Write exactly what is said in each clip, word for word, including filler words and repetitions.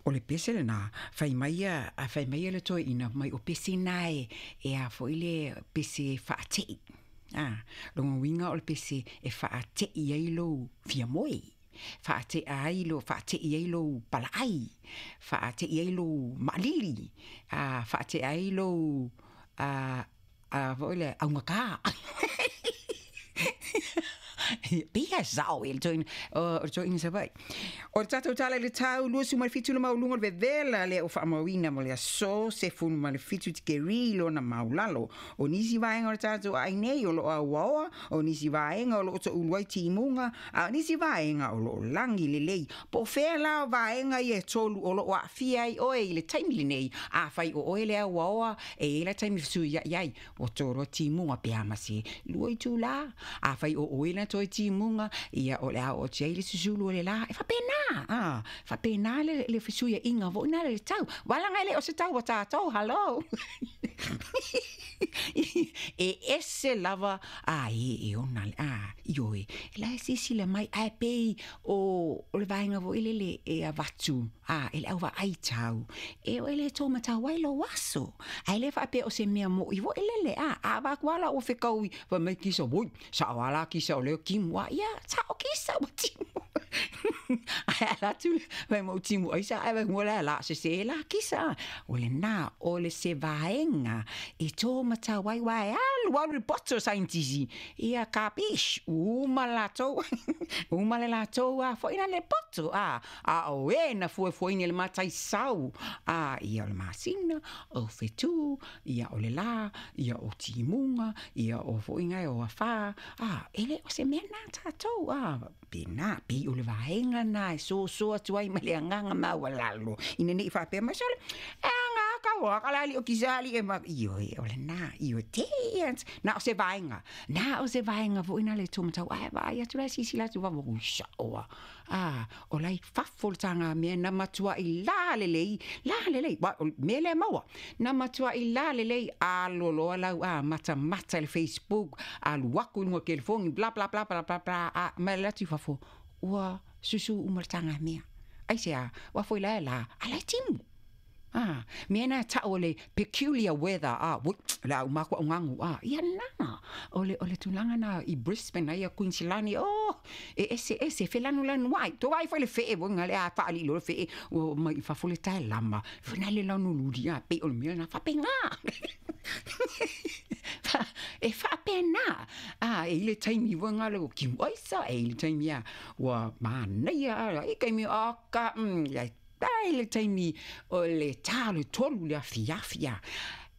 O le pese lena, fai mai ia, a fai mai ia le toeaina mai o pese na e, e a foi le pese faate'i. A, lona uiga o le pese e faate'i ai lou fiamoe, faate'a ai lo faate'i ai lou palaai, faate'i ai lou maalili, a faate'a ai lou a a foi lea augata. Pei e sao i le toeaina, o le toeaina Savaii. O le tatou tala i le tau luasefulu ma le fitu le maualuga o le vevela lea ua faamauina mo le aso sefulu ma le fitu tikeri lona maulalo. O nisi vaega o le tatou aai nei o loo auaoa, o nisi vaega o loo toulu ai timuga, a o nisi vaega o loo lagi lelei. Po o fea la o vaega ia e tolu o loo aafia ai oe i le taimi lenei? Afai o oe le auaoa, e i ai la taimi fesuiai ai, ua toloa timuga pe a ma se lua itula. Afai o oe na toe timuga, ia o le a oo atu ai le susulu o le la. E faapena, a faapena le, le fesuiaiga foi na le tau. Valaga e le o se tau a tatou, hello. E ese lava a e e ona le a ioe. E la e silasila mai ae pei o, o le vaega foi lele e avatu a e le au vaai tau. E o ele tō matau ai lou aso. Ae le faapea o se mea mo'i foi lele a a avatu lava ua fekaui fai mai kisa oi sao lava la kisa o lea timu a ia sao kisa ua timu. Ae ala atu fai mai ua timu aisa ae fai mua la la sese la kisa. O lena o le se vaega e tō matau ai aua e alu alu le poto o saienitisi ia kapish uma latou uma le latou a foi na le poto a a o e na fuefueina i le mataisau a ia o le masina o fetu ia o le la ia o timuga ia o foi gae o afa a e le o se mea na tatou a pena pei o le vaega na e soso atu ai ma le agaga maualalo ina nei faapea mai sole e aga kau a kala ali o kisali e ma ioe o lena ioe te na o se vaega na o se vaega foi na le tō matau ai vaai atu la silasila atu vava ui sao a a o la i fafo le taga mea na matuai la lelei la lelei wa o mea lea maua na matuai la lelei alo loa lau a matamata i le Facebook alu aku i luga o telefoni bla bla bla bla bla bla a ma le atu i fafo ua susu uma le taga mea aisea ua foi la e la a la e timu. A, mea na ta'u o le peculiar weather a, ui, le a uma aku a'u gagu a, ia na, o le, o le tulaga na i Brisbane ai a Queensland, oh, e ese ese, felanulanu ai, to vaai foi le fe'e foi ga le a faalii loa le fe'e, ua omai i fafo le taelama, foi na le lanululi a, pei o le mea lena faapena. E faapena, a, e i le taimi foi ga le ua kimu aisa, e i le taimi a, ua manaia a, i taimi a ka, mm, ia ai le taimi o le tā o le tolu le afiafi a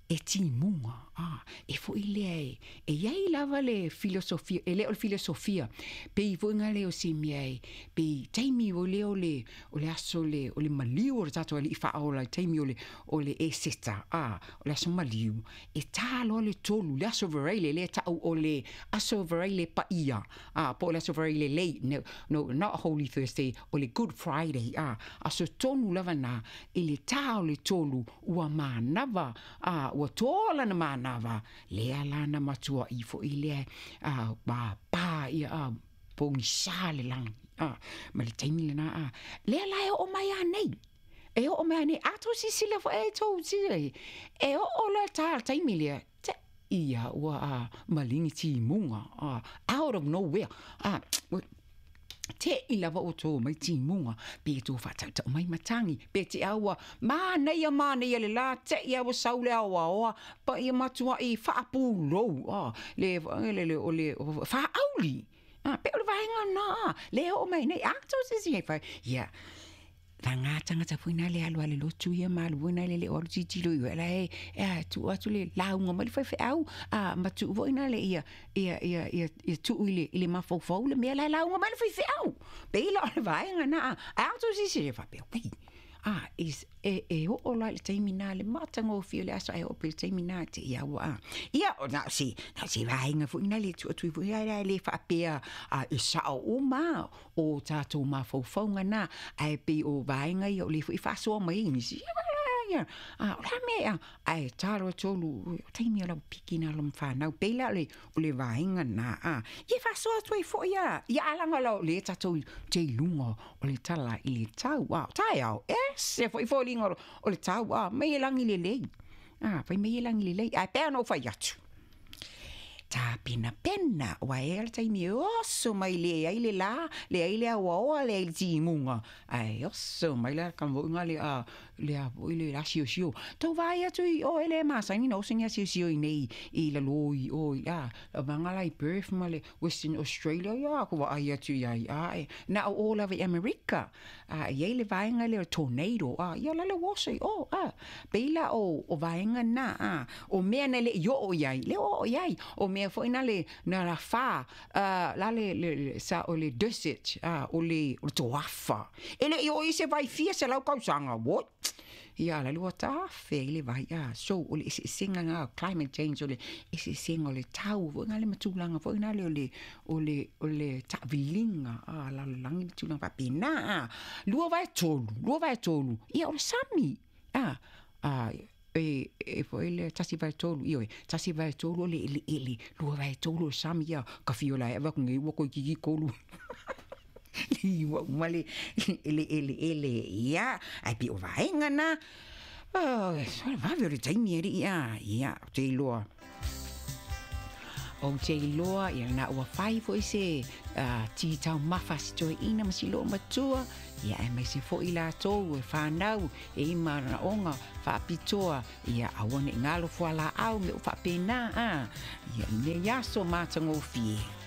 e timuga a e foi lea e e iai lava le filosofia e le o le filosofia pei foi ga le o se mea e pei taimi o le o le o le aso le o le maliu o le tatou alii faaola i taimi o le o le Eseta a o le aso maliu e tā loa le tolu le aso Veraile lea ta'u o le aso Veraile paia a po o le aso Veraile lei no, no not Holy Thursday o le Good Friday a aso tonu lava na i le tā o le tolu ua manava a ua toa lana manava lea lana matua i foi lea a pa pa ia a pogisa le lagi a ma le taimi lena a lea la e oo mai a nei e oo mai a nei a tou silasila foi e tou silasila e oo loa le tā le taimi lea te ia ua a maligi timuga a out of nowhere a te'i lava ua to mai timuga pe tou faatautau mai matagi pe te au ua manaia manaia le la te'i a ua sau le aoaoa pa ia matua'i faapulou a le le le o le faaauli a pe o le vaega lena a le oo mai nei a tou silasila ifo ia vaga tagata foi na le alu a le lotu ia ma alu foi na le le o alu tilotilo i la e e a tuu atu le lauga mai le faifeau a ma tuu foi na le ia ia ia ia ia tuu i le i le mafaufau le mea la e lauga mai le faifeau pei la o le vaega na a a tou silasila faapea wei a is e e oo la i le taimi na le matagofie o le aso ae oo pea i le taimi na te ia ua a ia o na o se na o se vaega foi na le tuu atu ai foi a le faapea a e sao uma o tatou mafaufauga na ae pei o vaega ia o le foi faasoa mai ai nisi ia a o le a mea ae talo tolu o taimi o lau piki na lo whanau pela le o le vaenga na a ia faasoa atu ai foi a ia alaga la o le tatou te i luga o le tala i le tau a taeao e se foi foliga o le tau a mai e lagi lelei a fai mai e lagi lelei ae pea ona ou fai atu tapenapena ua e le taimi e oso mai le ai le la le ai le auaoa le ai le timuga ae oso mai la kamoʻiga le a le a foi le asiosio tou vaai atu i o e le masani na oso ni asiosio i nei i lalō i o i a vaga la i Perth ma le Western Australia ia ko vaai atu iai a e na o o lava i Amerika a i ai le vaega lea o tornado a ia la le oso i o a pei la o o vaega na a o mea na le i oo iai le oo iai o mea foi na le na la fa uh, la le, le, le sa o le desert a o le o le toafa e le i o i se vai fia se lau kausaga what ia la lua tafe i le vai a so o le eseesega na climate change o le eseesega o le tau foi na le matulaga foi na le o le o le o le taaviliga a lalolagi le tulaga faapena a lua vae tolu lua vae tolu ia o le sami a a e e foi le tasi vae tolu ioe tasi vae tolu o le eleele lua vae tolu o le sami ia ka fio la e ava nei ua koe kolu ua uma le ele ele ele ia ai pi o vaenga na oh so vave o le taimi e ia ia te iloa o te iloa ia na ua fai foi se uh, ti taumafa si toeaina ma si loo matua ia e mai se foi latou e whanau e ima na onga whaapitoa ia aua ne ngalo fualaau me o whaapena a ia i nei aso matagofie.